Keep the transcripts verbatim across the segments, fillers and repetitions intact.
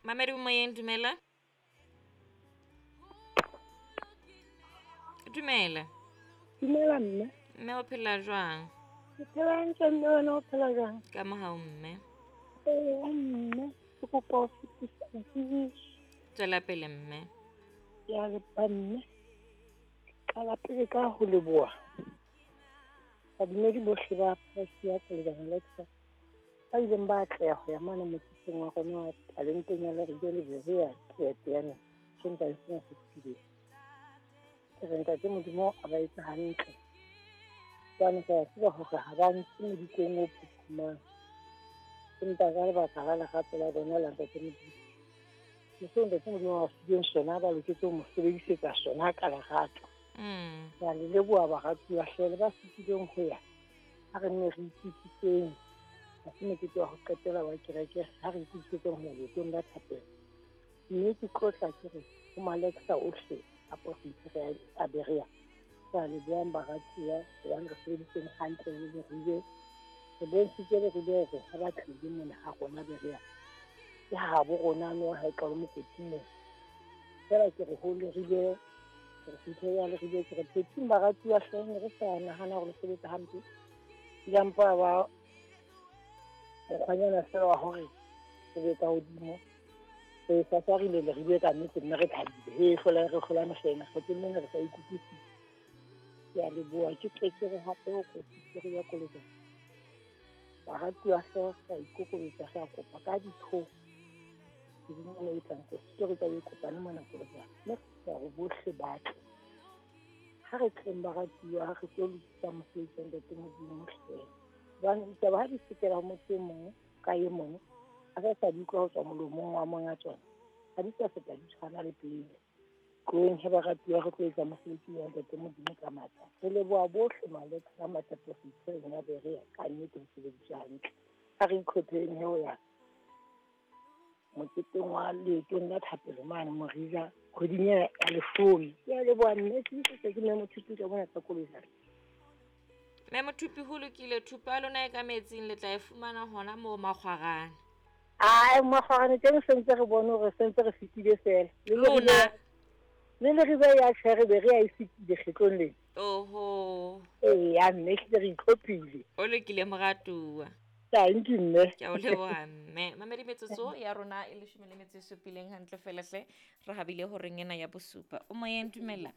Mamedi o moyeng, dumela. Dumela. Dumela mme. Mme o phela jwang? Ke phela hantle mme, wena o phela jwang? Ka mohau mme. Ee mme, ke kopa ho fetisa tsebiso. Tswela pele mme. Ke a leboha mme. Ke qala pele ka ho leboha badumedi bohle ba Parish ya Kolobana Lexa ba ileng ba atleha ho ya mane moketeng wa rona wa talenteng ya Leribe le Berea Teyateyaneng Sontaha sena se fetileng. Ke re ntate Modimo a ba etse hantle. Jwale ke a tseba hore ha ba ntse modikong o phuphumang, empa ka lebaka la lerato la bona la ntate Modimo, le seo ntate Modimo a ba fileng sona, ba loketse ho mo sebedisetsa sona ka lerato. Mm. Ke a le leboha baratuwa hle, le ba fetileng ho ya. Ha re nne re itukiseng, ha se mokete wa ho qetela wa kereke, ha re itukisetseng ho ya leetong la thapelo. Mme ke tlotla ke re ho Malexa ohle a province a Berea, ke a lebohang baratuwa hobane re sebeditseng hantle le Leribe. Re bontshitse Leribe hore ha ba tlile mona ha rona Berea, ke habo rona no ha e qale mokoting mona. Feela ke re ho Leribe, re fihle ya Leribe, ke re phething baratuwa hle, ne re sa nahana hore le sebetsa hampe. Ile mpa ba mokgwanyana feela wa hore re be ka hodimo. Re sasarile Leribe ka nnete, mme re thabile. He, hlola re hlola mehleng, kgetlong lena re sa ikutlwisisa. Ke a leboha, ke tle ke re hape ho Kosisiri ya Kolobeng. Baratuwa hle, re a ikokobetsa, re a kopa ka ditho. Kgweding ena e tlang, Kosisiri tla be e kopane mona Kolobeng. Mme re kopa hore bohle ba tle. Ha re tleng baratuwa, ha re tlo lokisa mosebetsi wa ntate Modimo hle. Hobane ditaba ha di fetela ho motho e mong ka e mong, ha re sa di utlwa ho tswa molomong wa monga tsona, ha di sa feta di tshwana le pele. Tloheng he baratuwa, re tlo etsa mosebetsi wa ntate Modimo ka matla. Re leboha bohle Malexa a matla profinseng ya Berea, ka nnete ho sebediswa hantle. Ha re itlhopheng he ho ya moketeng wa leetong la thapelo mane Morija kgweding ena ya leshome. Ke a leboha mme, ke se ke mme Mothupi ka mona tsa Kolobeng. Mme Mothupi, ho lokile, thupa ya lona e ka metsing le tla e fumana hona moo Makgwarane. Ai, Makgwarane teng sentse re bone hore sentse re fetile feela. Le Lona. Le Leribe ya tjhe re be re a e fetile kgetlong lena. Oho. Eya mme, ehlile re itlhophile. O lokile moratuwa. Thank you mme. Ke a o leboha mme. Mamedi, metsotso ya rona e leshome le metso e supileng hantle feela hle. Re habile horeng ena ya bosupa. O moyeng, dumela.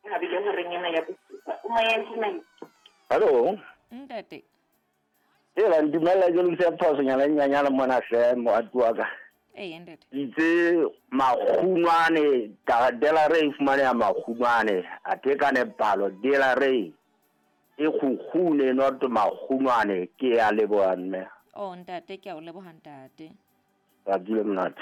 Habile horeng ena ya bosupa. O moyeng, dumela. Hello. Ntate. Hela, dumela, ke lokisa phosonyana e nyenyane mona hle, moratuwa ka. Ee, ntate. Itse Makgungwane, Dela Rey fumaneha Makgungwane, athe ka nepalo Dela Rey e kgukgune not Makgungwane. Ke a leboha mme. Oh ntate, ke a o leboha ntate. Tsatsi le monate.